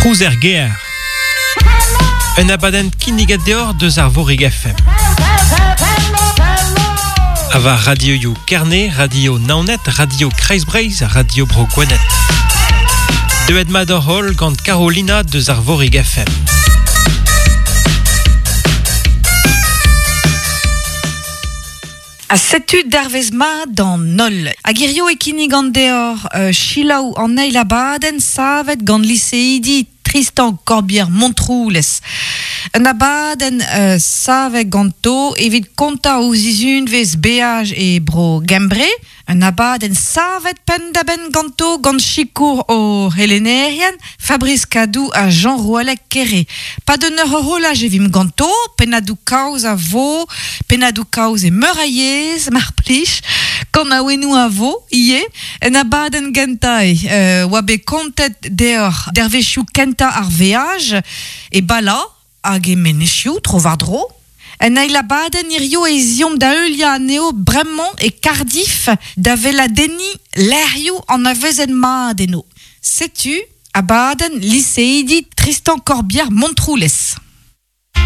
Trouz er gêr. Un abadenn kinniget deoc'h deus Arvorig FM. Ha war radioioù Kerne, Radio Naoned, Radio Kreiz-Breizh, Radio Bro Gwened. Deuet mat hoc'h holl gant Carolina deus Arvorig FM. Ha setu dervezh mat d'an holl. Hag hirio e kinnigan deoc'h uh, selaou an eil abadenn savet gant liseidi Tristan Corbière Montroulez. Un abadenn uh, savet ganto evit kontañ o zizunvezh beaj e bro Gembre. Un abadenn savet penn-da-benn ganto gant sikour o c'helennerien Fabrice Cadou ha Jean Roualec Kere. Pad un eur horolaj e vimp ganto, pennadoù-kaoz a vo, pennadoù-kaoz e meur a yezh, mar plij, kanaouennoù a vo ivez. En abadenn gentañ e oa bet kontet deoc'h dervezhioù kentañ ar veaj e Bala hag e menezioù tro-war-dro. En eil abadenn hirio ez eomp da heuliañ anezho bremañ e Cardiff da weladenniñ lec'hioù anavezet mat eno. Setu abadenn liseidi Tristan Corbière Montroulez.